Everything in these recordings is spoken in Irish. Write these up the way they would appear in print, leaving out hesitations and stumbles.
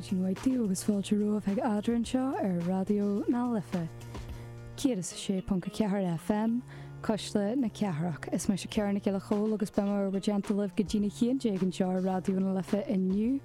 Maidin mhaith daoibh agus fáilte romhaibh chuig Eadra anseo ar Raidió na Life 106.4 FM, Cuisle na Cathrach. Is mise Ciara Nic Giolla Chóill agus beidh mé i bhur dteannta libh go dtína 11 anseo ar Raidió na Life inniu.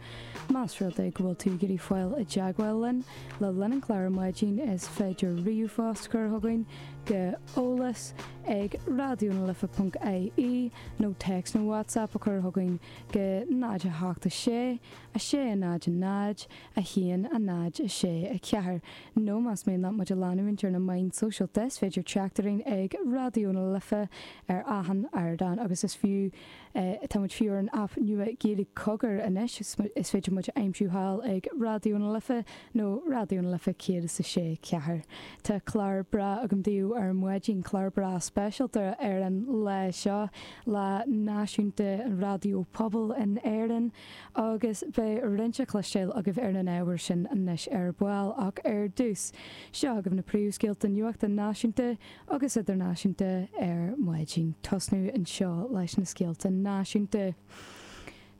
Más rud é go bhfuil tú ag iarraidh fáil i dteagmháil linn le linn an chláir ar maidin is féidir ríomhphost a chur chugainn go eolas ag raidionalife.ie nó téacs nó WhatsApp a chur chugainn go 0 8 6 6 0 0 1 0 6 4 nó más mian leat muid a leanúint ar na meáin sóisialta is féidir teacht orainn ag Raidió na Life ar achan ardán agus is fiú tá muid fiú ar an aip nua Gaeilge Cogar anois is féidir muid a aimsiú thall ag Raidió na Life nó Raidió na Life 106 4. Tá clár breá agam daoibh ar maidin, clár breá speisialta ar an lá seo, Lá Náisiúnta an Raidió Pobail in Éirinn, agus beidh roinnt le cloisteáil agaibh ar an ábhar sin anois ar ball. Ach ar dtús, seo agaibh na príomhscéalta nuachta náisiúnta agus idirnáisiúnta ar maidin. Tosnú anseo leis na scéalta náisiúnta.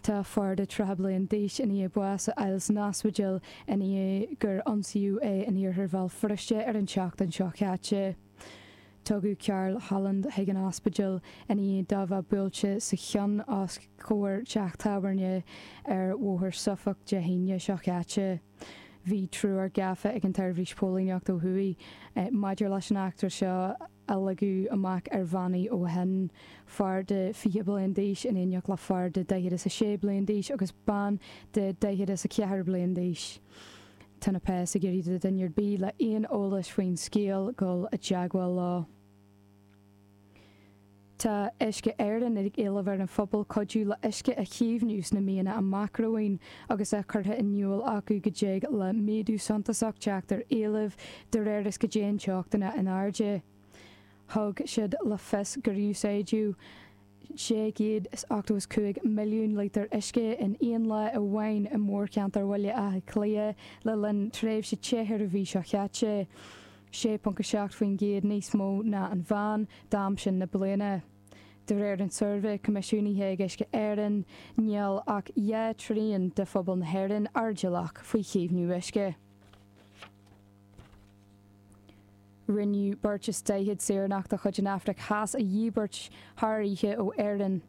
Tá fear de 30 bliain d'aois i ndiaidh bás a fháil san ospidéal i ndiaidh gur ionsaíodh é in iarthar Bhéal Feirste ar an tseachtain seo caite. Tugadh Karl Holland chuig an ospidéal i ndiaidh dó bheith buailte sa cheann os comhair teach tábhairne ar Bhóthar Suffolk Dé hAoine seo caite. Bhí triúr gafa ag an tSeirbhís Póilíneachta ó thuaidh maidir leis an eachtra seo. a ligeadh amach ar bhannaí ó shin, fear de 20 bliain d'aois in éineacht le fear de 46 bliain d'aois agus bean de 44 bliain d'aois. Tá na péas ag iarraidh do dhuine ar bith le aon eolas faoin scéal dul i dteagmháil leo. Tá Uisce Éireann ag éileamh ar an phobal cuidiú le uisce a chaomhnú sna míonna amach romhainn agus é curtha in iúl acu go dtig le méadú suntasach teacht ar éileamh de réir is go dtéann teochtanna in airde. Thug siad le fios gur úsáideadh 685 milliún lítear uisce in aon lá amháin i mórcheantar Bhaile Átha Cliath le linn tréimhse te an mhí seo caite, 6.7% níos mó ná an mheán d'am sin na bliana. De réir an tsuirbhé coimisiúnaithe ag Uisce Éireann, níl ach dhá thrian de phobal na hÉireann airdeallach faoi chaomhnú uisce. Rinneadh beirt is 40 saoránach de chuid an Afraic Theas a dhíbirt thar oíche ó Éirinn.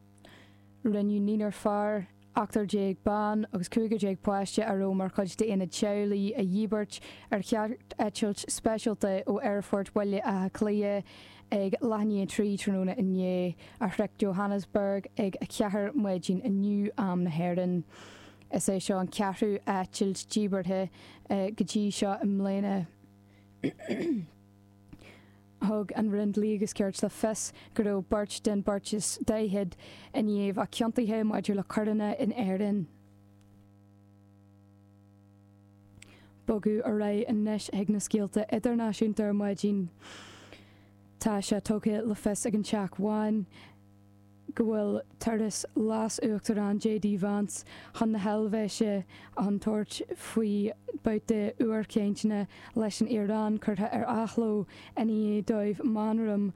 Rinneadh naonúr fear, ochtar déag ban agus cúigear déag páiste a raibh mar chuid d'aonad teaghlaigh a dhíbirt ar chearteitilt speisialta ó Aerfort Bhaile Átha Cliath ag leath i ndiaidh a 3 tráthnóna inné, a shroich Johannesburg ag a 4 maidin inniu, am na hÉireann. Is é seo an ceathrú eitilt díbeartha go dtí seo i mbliana. Thug an Roinn Dlí agus Cirt le fios go raibh beirt den bheirt is 40 i ndiaidh bheith ciontaithe maidir le coireanna in Éirinn. Bogadh ar aghaidh anois chuig na scéalta idirnáisiúnta ar maidin. Tá sé tugtha le fios ag an Teach Bán go bhfuil turas Leas-Uachtarán JD Vance chun na hEilvéise chun tabhairt faoi babhta úr cainteanna leis an Iaráin curtha ar athló i ndiaidh dóibh meamram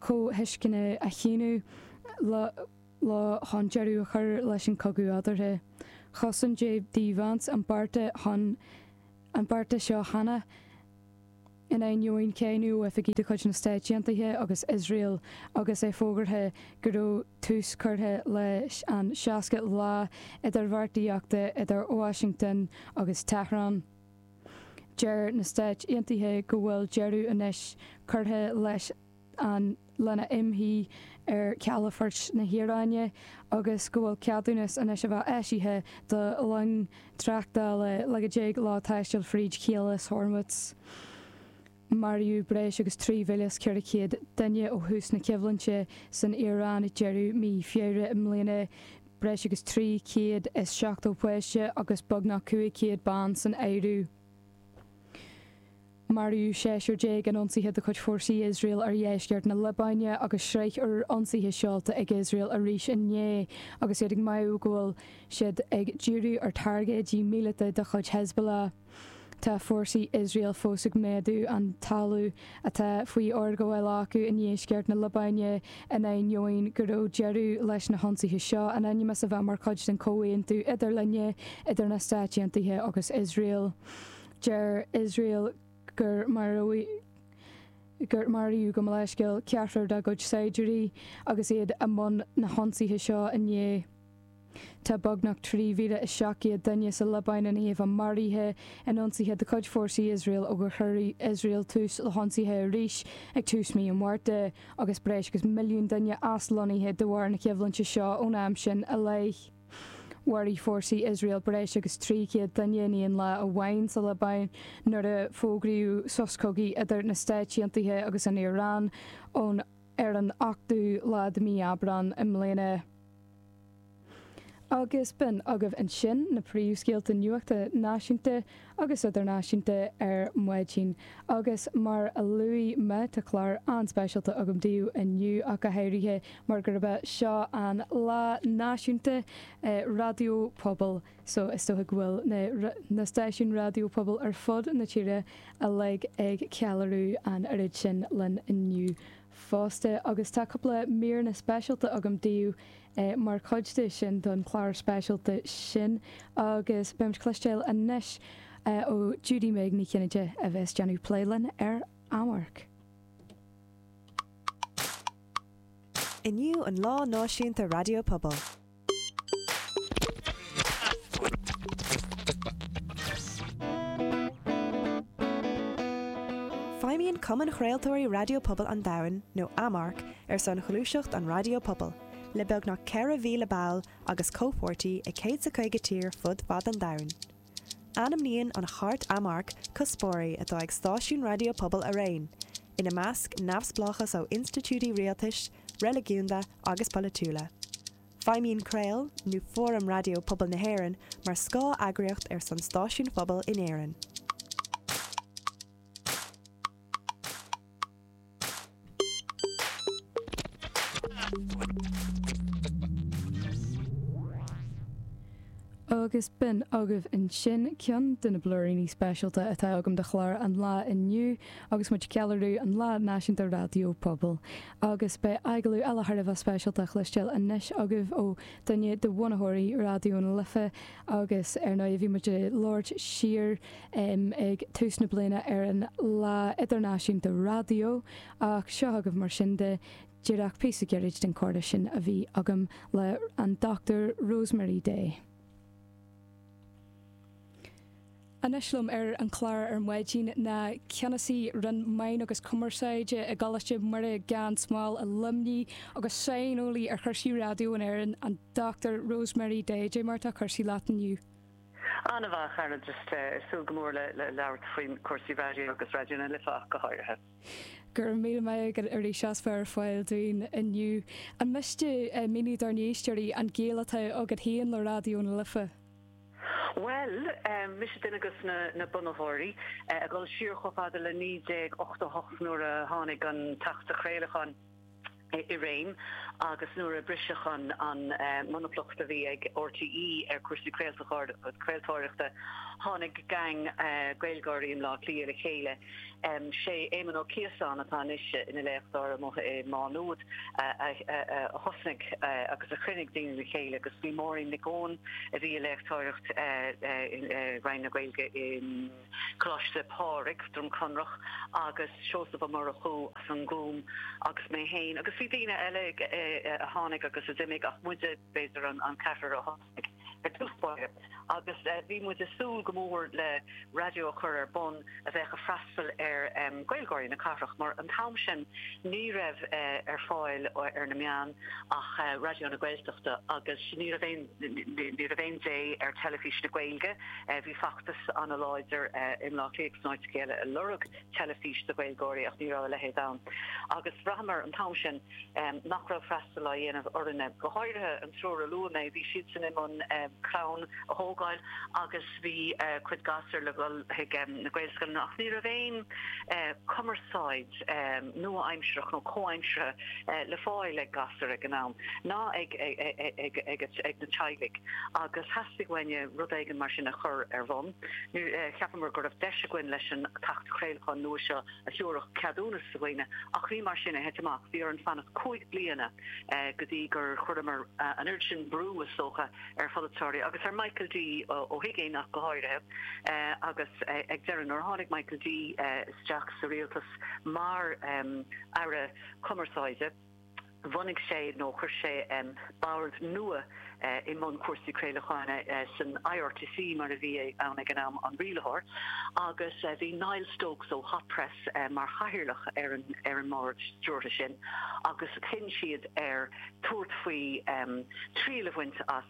comhthuisceana a shíniú leo chun deireadh a chur leis an chogadh eatarthu. Chosain JD Vance an bearta chun an bearta seo cheana. In ainneoin cáineadh ó oifigigh de chuid na Stáit Aontaithe agus Iosrael agus é fógartha go raibh tús curtha leis an 60 lá idirbheartaíochta idir Washington agus Tehran, deir na Stáit Aontaithe go bhfuil deireadh anois curtha leis an lena imshuí ar chalafoirt na hIaráine agus go bhfuil ceadúnas anois a bheith eisithe do long tráchtála le go dtig leo taisteal fríd Chaolas Hormuz. Maraíodh breis agus 3,400 duine ó thús na coimhlinte san Iaráin ag deireadh mí Feabhra i mbliana, breis agus 370 páiste agus beagnach 500 bean san áireamh. Maraíodh seisear déag in ionsaithe de chuid fórsaí Iosrael ar dheisceart na Liobáine agus sraith úr ionsaithe seolta ag Iosrael arís inné agus iad ag maíomh go bhfuil siad ag díriú ar thairgéidí míleata de chuid Hezbollah. Tá fórsaí Iosrael fós ag méadú an talamh atá faoi fhorghabháil acu i ndeisceart na Liobáine in ainneoin go raibh deireadh leis na hionsaithe seo in ainm is a bheith mar chuid den chomhaontú idirlinne idir na Stáit Aontaithe agus Iosrael. Deir Iosrael gur maraíodh gabh mo leithscéal ceathrar dá gcuid saighdiúirí agus iad i mbun na hionsaithe seo inné. Tá beagnach 3,700 duine sa Liobáin i ndiaidh a bheith maraithe in ionsaithe de chuid fórsaí Iosrael ó gur chuir Iosrael tús le hionsaithe arís ag tús mí an Mhárta, agus breis agus milliún duine aslonnaithe de bharr na coimhlinte seo ón am sin i leith. Mharaigh fórsaí Iosrael breis agus 300 duine in aon lá amháin sa Liobáin nuair a fógraíodh sos cogaidh idir na Stáit Aontaithe agus an Iaráin ón ar an ochtú lá de mhí Aibreán i mbliana. Agus b'in agaibh ansin na príomhscéalta nuachta náisiúnta agus idirnáisiúnta ar maidin. Agus mar a luaigh mé, tá clár an-speisialta agam daoibh inniu, ach go háirithe mar gurb é seo an Lá Náisiúnta Raidió Pobail. So is dócha go bhfuil na stáisiúin raidió pobail ar fud na tíre uilig ag ceiliúradh an oiread sin linn inniu fosta. Agus tá cúpla míreanna speisialta agam daoibh mar chuid de sin, don chlár speisialta sin. Agus beimid cloisteáil anois ó Judy Meg Ní Chinnéide a bheas déanamh plé linn ar Amharc. Inniu an Lá Náisiúnta Raidió Pobail. Feidhmíonn Cumann Chraoltóirí Raidió Pobail an Domhain, nó AMARC, ar son ghluaiseacht an raidió pobail, le beagnach 4,000 ball agus comhpháirtí i 150 tír fud fad an domhain. Ainmníonn an Chairt AMARC cuspóirí atá ag stáisiúin raidió pobail araon, ina measc neamhspleáchas ó institiúidí rialtais, reiligiúnda agus polaitiúla. Feidhmíonn Craol, nó Fóram Raidió Pobail na hÉireann, mar scáth-eagraíocht ar son stáisiúin phobail in Éirinn. Agus b'in agaibh ansin ceann de na blúiríní speisialta atá agam do chlár an lae inniu agus muid ag ceiliúradh an Lá Náisiúnta Raidió Pobail. Agus beidh agallamh eile thar a bheith speisialta a chloisteáil anois agaibh ó dhuine de bhunaitheoirí Raidió na Life agus ar ndóigh bhí muid ag labhairt siar ag tús na bliana ar an Lá Idirnáisiúnta Raidió ach seo agaibh mar sin de díreach píosa gairid den chomhrá sin a bhí agam le an Dr Rosemary Day. Anois liom ar an chlár ar maidin ná Ceannasaí Roinn Meán agus Cumarsáide i gColáiste Muire Gan Smál i Luimnigh agus saineolaí ar chúrsaí raidió in Éirinn, an Dr Rosemary Day. Dé mar atá cúrsaí leat inniu? An-mhaith, a chara, just ag súil go mór le labhairt faoi chúrsaí raidió agus Raidió na Life ach go háirithe. Go raibh míle maith agat arís as bheith ar fáil dúinn inniu. An miste míniú dár n-éisteoirí an gaol atá agat féin le Raidió na Life? Bhuel, mise duine de na bunaitheoirí, ag dul siar chomh fada le 1988 nuair a tháinig an tAcht Craolacháin i réim agus nuair a briseadh an monaplacht a bhí ag RTÉ ar chúrsaí craoltóireachta, tháinig gang Gaeilgeoirí i mBleá Cliath le chéile. Sé Éamon Ó Ciosáin, atá anois ina léachtóir amuigh i Má Nuad, a thosnaigh agus a chruinnigh daoine le chéile agus bhí Máirín Nic Eoin, a bhí ag léachtóireacht i Roinn na Gaeilge i gColáiste Phádraig, Droim Conrach, agus Seosamh Ó Murchú as an nGúm agus mé féin agus bhí daoine eile a tháinig agus a d'imigh ach muide, b'fhéidir, an ceathrar a thosnaigh. Ar dtús báire, agus bhí muid ag súil go mór le raidió a chur ar bun a bheadh ag freastal ar Ghaeilgeoirí na cathrach, mar an t-am sin ní raibh ar fáil ar na meáin ach Raidió na Gaeltachta agus ní raibh aon ní raibh aon dé ar teilifís na Gaeilge. Bhí feachtas an-láidir i mBleá Cliath agus in áiteacha eile ag lorg teilifís do Ghaeilgeoirí ach ní raibh a leithéid ann. Agus bhraitheamar an t-am sin nach raibh freastal á dhéanamh orainne. Go háirithe an triúr a luaigh mé, bhí siadsan i mbun. clann a thógáil agus bhí cuid gasúr le dhul chuig na Gaelscoileanna ach ní raibh aon cumarsáid nua-aimsearach nó comhaimseartha le fáil ag gasúir ag an am ná ag ag na teaghlaigh agus theastaigh uainne rud éigin mar sin a chur ar bhun. Cheapamar go raibh deis againn leis an tAcht Craolacháin nua seo a thabharfadh ceadúnas do dhaoine ach ní mar sin a thit amach. Bhí orainn fanacht 5 bliana go dtí gur chuireamar an oiread sin brú, is dócha, ar pholaiteoirí agus ar Michael D. Ó hUiginn ach go háirithe agus ag deireadh nuair a tháinig Michael D. isteach sa rialtas mar Aire Cumarsáide, bhunaigh sé nó chuir sé bord nua i mbun cúrsaí craolacháin san IRTC mar a bhí ann ag an am, an rialaitheoir, agus bhí Niall Stokes ó Hot Press mar chathaoirleach ar an ar an mbord stiúrtha sin agus chinn siad ar tabhairt faoi triail a bhaint as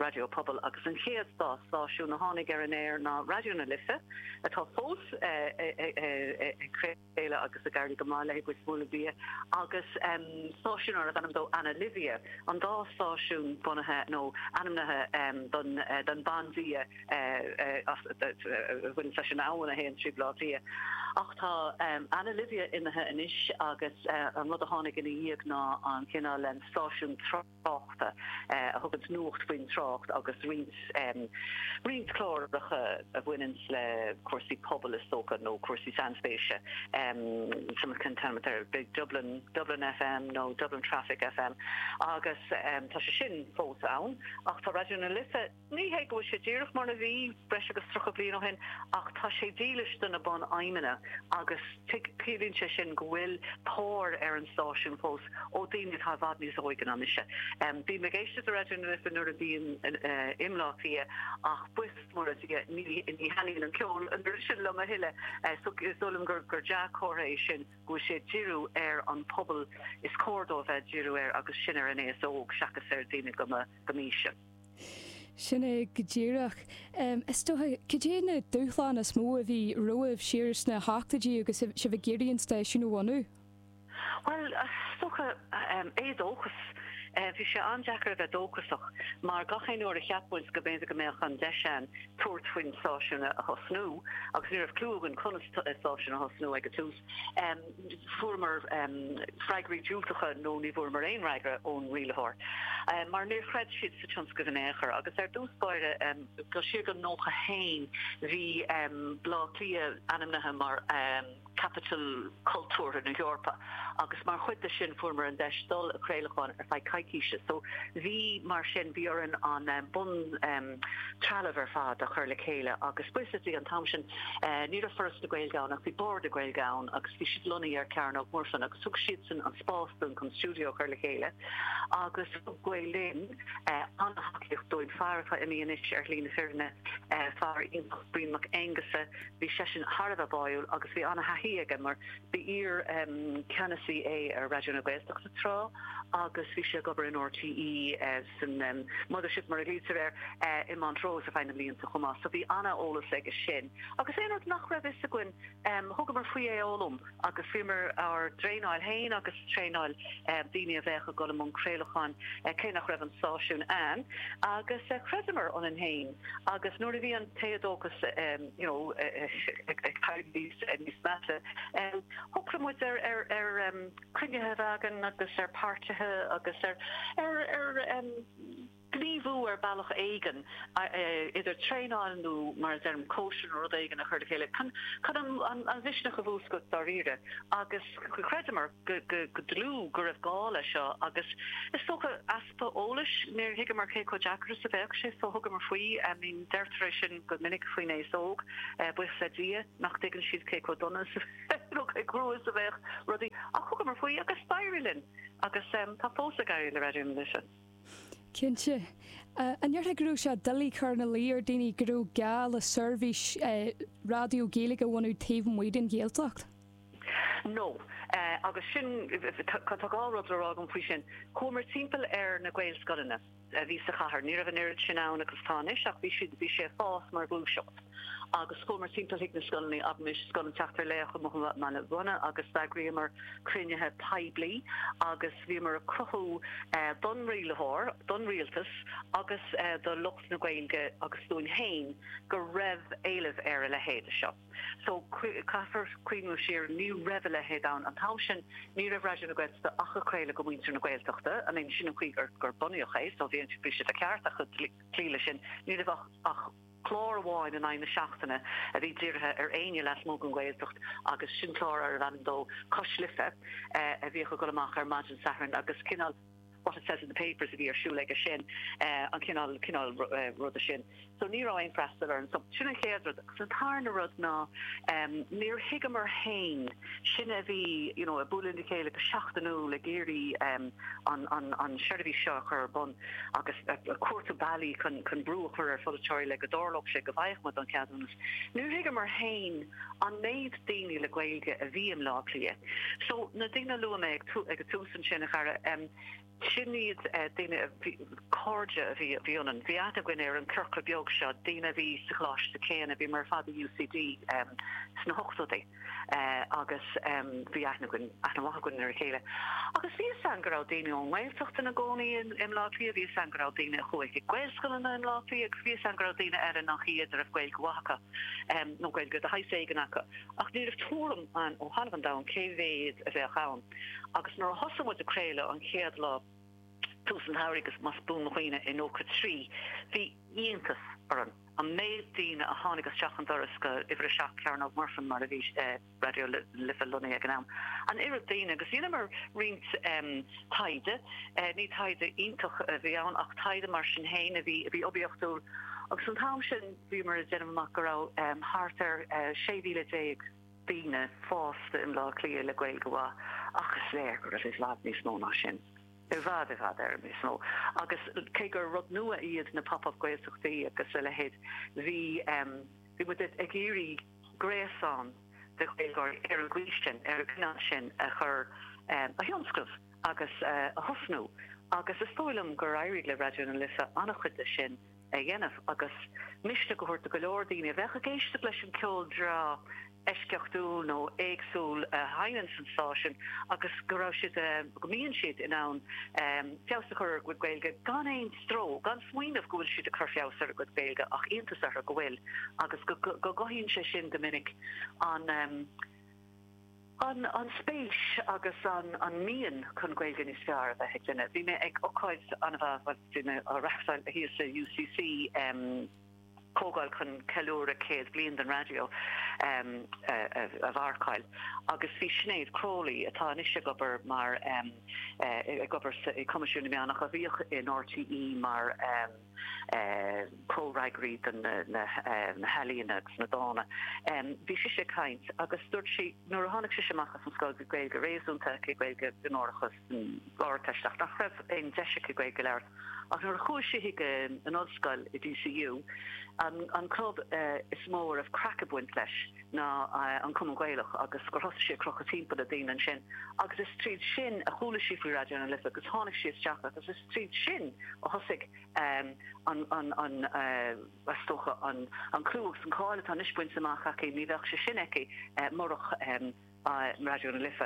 raidió pobail agus an chéad dá stáisiún a tháinig ar an aer ná Raidió na Life, atá fós ag craoladh agus ag éirí go maith léi, buíochas mór le Dia, agus stáisiún arbh ainm dó Anna Livia, an dá stáisiún bunaithe nó ainmnithe don bandia. a bhaineann leis an abhainn a théann trí Bhaile Átha Cliath. Ach tá Anna Livia imithe anois agus an rud a tháinig ina dhiaidh ná an cineál stáisiún tráchta a thuganns nuacht faoin trácht agus roinnt roinnt cláracha a bhaineanns le cúrsaí pobail is dócha nó cúrsaí sainspéise. Cén t-ainm atá air? Big Dublin, Dublin FM nó Dublin Traffic FM agus tá sé sin fós ann ach tá Raidió na Life, Ní hé go bhfuil sé díreach mar a bhí breis agus 30 bliain ó shin, ach tá sé dílis do na bun-aidhmeanna agus ciallaíonn sé sin go bhfuil tóir ar an stáisiún fós ó daoine atá i bhfad níos óige ná mise. Bím ag éisteacht le Raidió na Life nuair a bhím i mBleá Cliath ach buíochas mór le Dia ní thaitníonn an ceol an oiread sin liom a thuilleadh so is dóigh liom gur dea-chomhartha é sin go bhfuil sé ag díriú ar an pobal is cóir dó a bheith ag díriú air agus sin ar an aos óg seachas ar daoine go m'aois-se. Sin é go díreach. Is dócha, cad é na dúshláin is mó a bhí romhaibh siar sna hochtóidí agus sibh ag iarraidh an stáisiún a bhunú? Bhuel, is dócha, éadóchas. Bhí sé an-deacair a bheith dóchasach mar gach aon uair a cheap muid go mb'fhéidir go mbeadh an deis ann tabhairt faoin stáisiún a thosnú, agus ní raibh cliú againn conas stáisiún a thosnú ag an tús, Fuaireamar freagraí diúltacha nó ní bhfuaireamar aon fhreagra ón rialaitheoir mar níor chreid siad sa tionscnamh in aon chor. Agus ar dtús báire, go siar go 91, bhí Baile Átha Cliath ainmnithe mar Capital Cultúrtha na hEorpa agus mar chuid de sin fuaireamar an deis dul ag craolacháin ar feadh coicíse. So bhí, mar sin, bhí orainn an bun trealamh ar fad a chur le chéile agus buíochas le Dia an t-am sin, Ní raibh Foras na Gaeilge ann ach bhí Bord na Gaeilge ann agus bhí siad lonnaithe ar Chearnóg Mhuirfean agus thug siadsan an spás dúinn chun stiúideo a chur le chéile agus thug Gael Linn an-thacaíocht dúinn. Fear atá imithe anois ar shlí na fírinne, fear iontach, Brian Mac Aonghusa, bhí seisean thar a bheith báúil agus bhí an-thaithí aige mar ba iar-cheannasaí é ar Raidió na Gaeltachta tráth agus bhí sé ag obair in RTÉ san Mothership mar a ghlaoitear air i Montrose ar feadh na mblianta chomh maith so bhí an-eolas aige sin. Agus aon rud nach raibh fhios againn thugamar faoi é a fhoghlaim agus bhíomar ár dtraenáil féin agus traenáil daoine a bheadh ag dul i mbun craolacháin cé nach raibh an stáisiún ann agus chreideamar ionainn féin agus nuair a bhí an t-éadóchas you know ag éirí níos measa shocraigh muid ar ar cruinnithe a bheith againn agus ar páirtithe agus ar ar ar gníomhú ar bealach éigin, idir traenáil nó mar a deirim cóisir nó rud éigin a chur le chéile chun chun an an mhisneach a mhúscailt dáiríre agus chreideamar go go go dlúth go raibh gá leis seo agus is dócha easpa eolais, níor thuigeamar cé chomh deacair is a bheadh sé so thugamar faoi, I mean deirtear é sin go minic faoin aos óg, buíochas le Dia nach dtuigeann siad cé chomh dona is nó cé crua is a bheadh rudaí ach thugamar faoi agus d'éirigh linn agus tá fós ag éirí le Raidió na Life. Cinnte. An ndéarfá go raibh sé doiligh cur ina luí ar daoine go raibh gá le seirbhís raidió Gaeilge a bhunú taobh amuigh den Ghaeltacht? No. Agus sin, tá dhá rud le rá agam faoi sin. Chuamar timpeall ar na Gaelscoileanna a bhí sa chathair. Ní raibh an oiread sin ann agus atá anois ach bhí siad, bhí sé ag fás mar ghluaiseacht. Agus chuamar timpeall chuig na scoileanna, abraimis Scoil an tSeachtar Laoch amuigh i mBaile Munna agus d'eagraíomar cruinnithe poiblí agus bhíomar ag cruthú don rialaitheoir, don rialtas agus do lucht na Gaeilge agus dúinn féin go raibh éileamh ar a leithéid seo. So, caithfear cuimhneamh siar, ní raibh a leithéid ann an t-am sin, ní raibh Raidió na Gaeltachta ach ag craoladh go muintir na Gaeltachta, I mean sin an chaoi gur bunaíodh é, so bhí sé de cheart acu cloí leis sin, ní raibh ach clár amháin in aghaidh na seachtaine a bhí dírithe ar éinne lasmuigh den Ghaeltacht agus sin clár arbh ainm dó Cois Life a bhíodh ag dul amach ar maidin Sathairn agus cineál what it says in the papers a bhí ar siúl aige sin, an cineál, cineál ruda sin. So ní raibh aon freastal orainn. So sin an chéad rud. Agus an tarna rud ná níor thuigeamar féin, sinne a bhí, you know, ag bualadh le chéile go seachtainiúil ag iarraidh an, an, an seirbhís seo a chur ar bun agus ag cuartú bealaí chun, chun brú a chur ar pholaiteoirí le go dtarlódh sé go bhfaigheadh muid an ceadúnas. Níor thuigeamar féin an méid daoine le Gaeilge a bhí i mBleá Cliath. So, na daoine a luaigh mé ag ag an tús ansin, a chara, sin iad daoine a bhí, cairde a bhí, bhí ionainn. Bhí aithne againn ar an ciorcal beag seo, daoine a bhí sa choláiste céanna, bhíomar ar fad i UCD sna hochtóidí agus bhí aithne againn, aithne mhaith againn ar a chéile. Agus bhí fhios againn go raibh daoine ón nGaeltacht ina gcónaí i mBleá Cliath, bhí fhios againn go raibh daoine a chuaigh chuig Gaelscoileanna i mBleá Cliath agus bhí fhios againn go raibh daoine eile nach iad a raibh Gaeilge mhaith acu. nó Gaeilge de shaghas éigin acu, ach ní raibh tuairim againn ó thalamh an domhain cé mhéad a bheadh ann. Agus nuair a thosaigh muid ag craoladh an chéad lá, tús an tsamhraidh agus más buan mo chuimhne i 93, bhí iontas orainn an méid daoine a tháinig isteach an doras go uimhir 7 Cearnóg Mhuirfean mar a bhí Raidió na Life lonnaithe ag an am. An oiread daoine agus dheineamar roinnt taighde, ní taighde iontach a bhí ann ach taighde mar sin féin a bhí a bhí oibiachtúil agus an t-am sin bhíomar ag déanamh amach go raibh thart ar 16,000 daoine fásta i mBleá Cliath le Gaeilge mhaith ach is léir go raibh i bhfad níos mó ná sin. I bhfad, i bhfad Éireann níos mó. Agus cé gur rud nua iad na pop-up Gaeltachtaí agus a leithéid bhí bhí muid ag iarraidh gréasán de Ghaeilgeoirí ar an gcaoi sin, ar an gcineál sin a chur, a thionscnamh agus a thosnú agus is dóigh liom gur éirigh le Raidió na Life an-chuid de sin a dhéanamh agus misneach a thabhairt do go leor daoine a bheadh ag éisteacht leis an ceol breá eisceachtúil nó éagsúil a sheinneann an stáisiún agus go raibh siad, go mbíonn siad in ann feabhas a chur ar a gcuid Gaeilge gan aon stró, gan smaoineamh go bhfuil siad ag cur feabhas ar a gcuid Gaeilge ach iontas orthu go bhfuil agus go gcothaíonn sé sin go minic an an spéis agus an mian chun Gaeilge níos fearr a bheith ag duine. Bhí mé ag ocáid an-mhaith, bhuel bhí mé á reachtáil thíos i UCC, comhdháil chun ceiliúradh 100 bliain den raidió a mharcáil agus bhí Sinéad Crowley, atá anois ag obair mar ag obair i Coimisiún na Meán ach a bhíodh in RTÉ mar comhfhreagraí do na healaíona agus na dána. Bhí sise ag caint agus dúirt sí nuair a tháinig sise amach as an scoil bhí Gaeilge réasúnta aici, Gaeilge onórach san Ardteist ach nach raibh aon deis aici Gaeilge a labhairt. Ach nuair a chuaigh sí chuig an ollscoil i DCU, an club is mó a raibh craic ag baint leis ná an Cumann Gaelach agus gur thosaigh sí ag crochadh timpeall le daoine ansin agus is tríd sin a chuala sí faoi Raidió na Life agus tháinig sí isteach agus is tríd sin a thosaigh an, an, an, is dócha an clú agus an cáil atá anois bainte amach aici, ní bheadh sé sin aici murach Raidió na Life.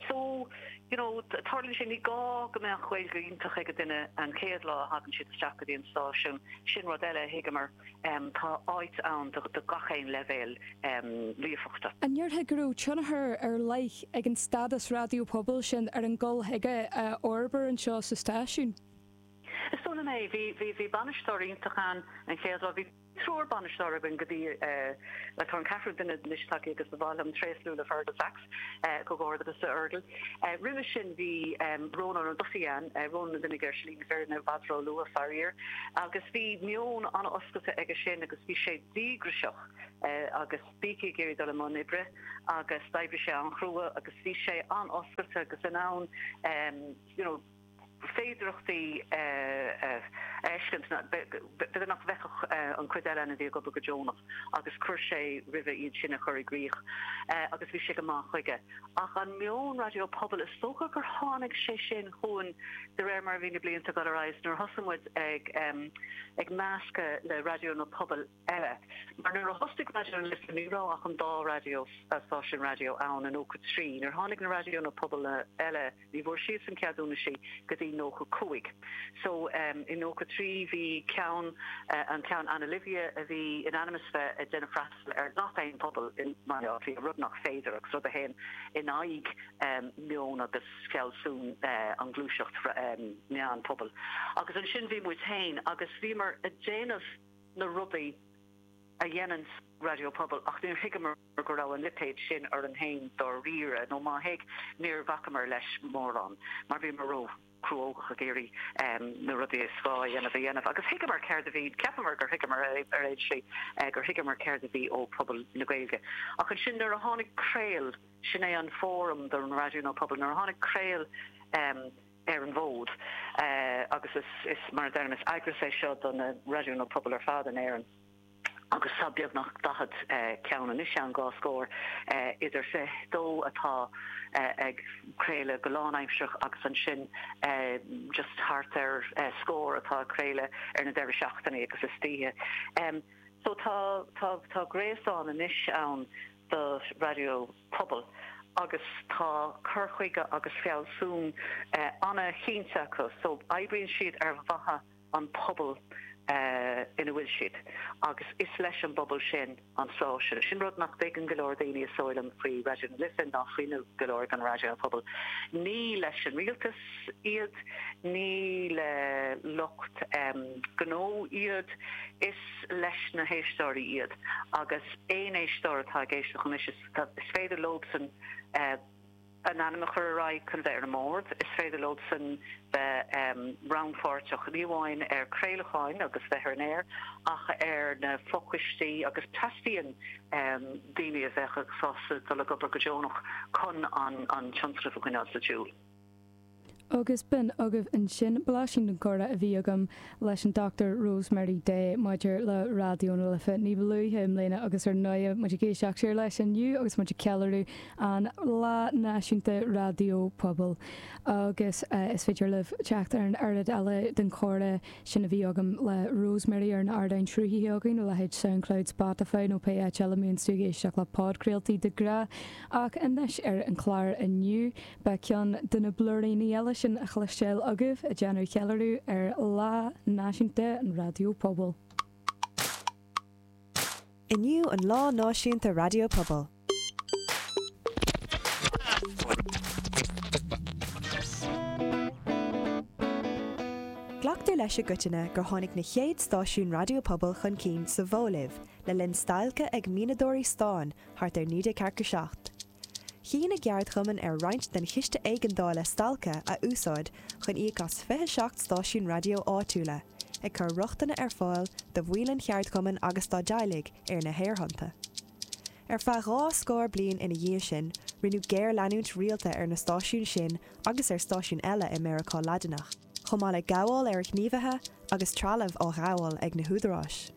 So, you know, tarlaíonn sé, ní gá go mbeadh Gaeilge iontach ag duine an chéad lá a thagann siad isteach go dtí an stáisiún. Sin rud eile a thuigeamar, tá áit ann do gach aon leibhéal líofachta. An ndéarfá go raibh tionchar ar leith ag an stádas raidió pobail sin ar an gcul chuige a fhorbair anseo sa stáisiún? Is dóigh liom é. Bhí, bhí, bhí bainisteoir iontach ann an chéad lá. Bhí. triúr bainisteoir againn go dtí, bhuel, tá an ceathrú duine anois tagtha agus ba mhaith liom tréaslú le Fergal Sachs, comhghairdeas a Fhergal. Roimhe sin bhí Rónán Ó Dufaigh ann, Rónán a d'imigh ar shlí na fírinne i bhfad ró-luath, faraor, agus bhí meon an-oscailte aige sin agus bhí sé díograiseach agus bící ag iarraidh dul i mbun oibre agus d'oibrigh sé an-chrua agus bhí sé an-oscailte agus in ann, you know, féidireachtaí a fheiscint, b'fhéidir nach bhfeicfeadh an chuid eile againn a bhí ag obair go deonach agus chuir sé roimhe iad sin a chur i gcrích agus bhí sé go maith chuige. Ach an meon raidió pobail, is dócha gur tháinig sé sin chugainn de réir mar a bhí na blianta ag dul ar aghaidh nuair a thosaigh muid ag meascadh le raidiónna pobail eile. Mar nuair a thosaigh Raidió na Life ní raibh ach an dá raidió, stáisiún raidió ann i 93. Nuair a tháinig na raidiónna pobail eile, ní bhfuair siadsan ceadúnaisí go dtí 95. So i 93 bhí ceann, an ceann Ana Livia a bhí in ainm is bheith ag déanamh freastal ar gach aon pobal i mBaile Átha Cliath, rud nach féidir agus rud a théann in aghaidh meon agus fealsún an ghluaiseacht meán pobail. Agus ansin bhí muid féin agus bhíomar ag déanamh na rudaí a dhéananns raidió pobail ach níor thuigeamar go raibh an lipéad sin orainn féin dáiríre, nó má thuig, níor bhacamar leis mórán mar bhíomar ró chruógach ag iarraidh na rudaí is gá a dhéanamh a dhéanamh. Agus thuigeamar céard a bhí, cheapamar gur thuigeamar ar aon slí, gur thuigeamar céard a bhí ó phobal na Gaeilge. Ach ansin nuair a tháinig Craol, sin é an fóram don raidiónna pobail, nuair a tháinig Craol, ar an bhfód agus is, mar a deirim, is eagras é seo do na raidiónna pobail ar fad in Éirinn agus tá beagnach 40 ceann anois ann, dhá scór, idir 22 atá ag craoladh go lánaimsearach agus ansin just thart ar scór atá ag craoladh ar na deireadh seachtainí agus istoíche. So tá, tá, tá gréasán anois ann do raidió pobail agus tá cur chuige agus fealsún an-chinnte acu so oibríonn siad ar mhaithe an pobal ina bhfuil siad agus is leis an bpobal sin an stáisiún. Sin rud nach dtuigeann go leor daoine is dóigh liom faoi Raidió na Life ná faoi go leor den raidió pobail. Ní leis an rialtas iad, ní le lucht gnó iad, is leis na héisteoirí iad agus aon éisteoir atá ag éisteacht anois is féidir leobsan a n-ainm a chur ar aghaidh chun bheith ar an mbord, is féidir leobsan bheith rannpháirteach ní amháin ar craolacháin agus bheith ar an aer ach ar na fochoistí agus teastaíonn daoine a bheadh sásta dul ag obair go deonach chun an tionscnamh a choinneáil sa tsiúl. Agus b'in agaibh ansin blaisín den chomhrá a bhí agam leis an Dr Rosemary Day maidir le Raidió na Life ní ba luaithe i mbliana agus ar ndóighe muid ag éisteacht siar leis inniu agus muid ag ceiliúradh an Lá Náisiúnta Raidió Pobail. Agus is féidir libh teacht ar an oiread eile den chomhrá sin a bhí agam le Rosemary ar na hardáin sruthaithe againn, a leithéid Soundcloud, Spotify nó pé áit eile a mbíonns tú ag éisteacht le podchraoltaí de ghnáth. Ach anois ar an chlár inniu, Beidh ceann de na blúiríní eile sin a chloisteáil agaibh ag déanamh cheiliúradh ar Lá Náisiúnta an Raidió Pobail. Inniu an Lá Náisiúnta Raidió Pobail. Glactar leis i gcoitinne gur tháinig na chéad stáisiúin raidió pobail chun cinn sa Bholaiv le linn stailce ag mianadóirí stáin thart ar 1947. Chinn a gceardchumann ar roinnt den chiste éigeandála stailce a úsáid chun íoc as 27 stáisiún raidió áitiúla, ag cur rochtana ar fáil do bhaill an cheardchumainn agus dá dteaghlaigh ar na haerthonnta. Ar feadh dhá scór bliain ina dhiaidh sin, rinneadh géarleanúint rialta ar na stáisiúin sin agus ar stáisiúin eile i Meiriceá Laidineach, chomh maith le gabháil ar ghníomhaithe agus trealamh á ghabháil ag na húdaráis.